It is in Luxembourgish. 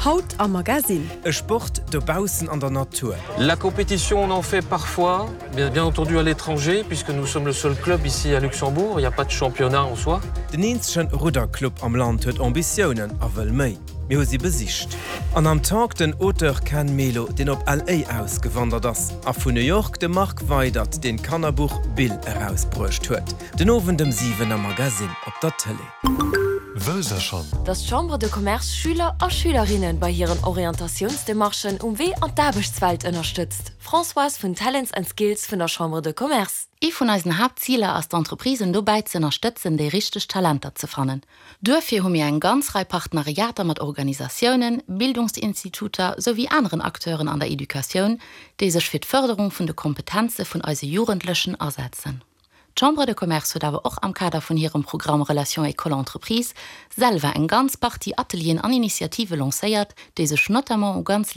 Haut am Magasinn. E Sport dobaussen an der Natur. La compétition on en fait parfois, bien, bien entendu à l'étranger, puisque nous sommes le seul club ici à Luxembourg, il n'y a pas de championnat en soi. Den eenzegen Rudderclub am Land huet Ambitiounen a wëll méi. Mir hu si besicht. An am Talk den Auteur Ken Melo, deen op LA ausgewandert ass, a vun New York de Marc Weydert, deen d'Kannerbuch Bill erausbruecht huet. Den Owend ëm 7 am Magasinn op der Tëlee. Wësst der schonn? Dass d'Chambre de Commerce Schüler a Schülerinne bei hiren Orientatiounsdemarchen um Wee an d'Aarbechtswelt ënnerstëtzt. Françoise vun Talents and Skills vun der Chambre de Commerce. Ee vun eisen Haaptziler ass d'Entreprisen dobäi z'ënnerstëtzen déi richteg Talenter ze fannen. Duerfir hu mir eng ganz Rei Partenariater mat Organisatiounen, Bildungsinstituter souwéi aneren Acteuren an der Educatioun, déi sech fir d'Fërderung vun de Kompetenze vun eise Jugendlechen asetzen. D'Chambre de Commerce huet awer och am Kader vun hirem Programm Relations école-entreprise selwer eng ganz Partie Atelieren an Initiative lancéiert, déi sech notamment u ganz.